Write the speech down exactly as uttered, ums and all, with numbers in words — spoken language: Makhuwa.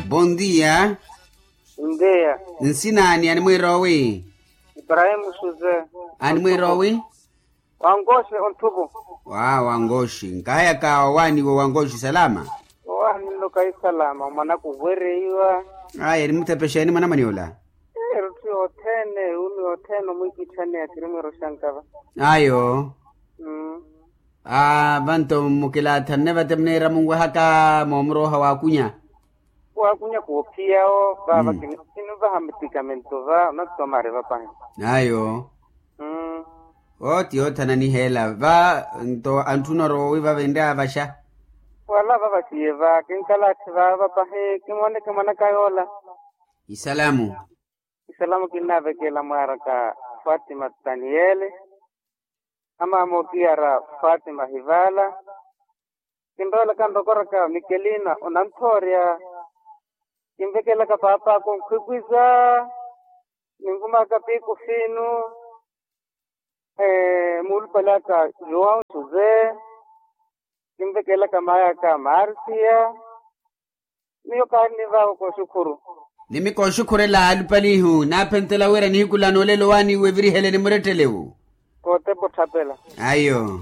Bondia. Ndeya. Nsinaani animwiira owi? Ibrahimu suze. Animwiira owi? Wankoxe onthupu. Wa wankoxe nkahayaka owaani wo wankoxe salama. Owaani nloka isalama mwanaka owereiwa. Aya erimutepexeeni mwanamwane ola? Erutthu yothene umi yothene omwikitthane ya kirimwiro xankava. Ayo. Aa vanto mukilaathanne vate muniira munwehaka moomurooha waakunya. Waakunya koophiyawo vava kinivaha mitikamento va onatomari vapahi. Ayo. Vo ti yoothana niheela va nto antthuna orowa wi vavenrya avaxa. Wala vavaxiye va kinkalaatthi vava vapahi kimwoneke mwanaka yoola. Isalamu. Isalamu kinnavekela mwaaraka fatima taniyele. Amaama okiyara fatima hivala. Kinroolaka nrokoraka mikelina onanthoorya. Kinvekelaka paapaka onkhwikwiza. Ninvumaka piku fiinu. Muulupale aka joão josé. Kinvekelaka maaya aka marsiya. Miyo kaari nivaawo kooxukhuru. Ni mikooxukhurela alupalihu naaphentela wira nihiku lano olelo waani weviriheleni murettelewu. Kootepa otthapela. Ayo.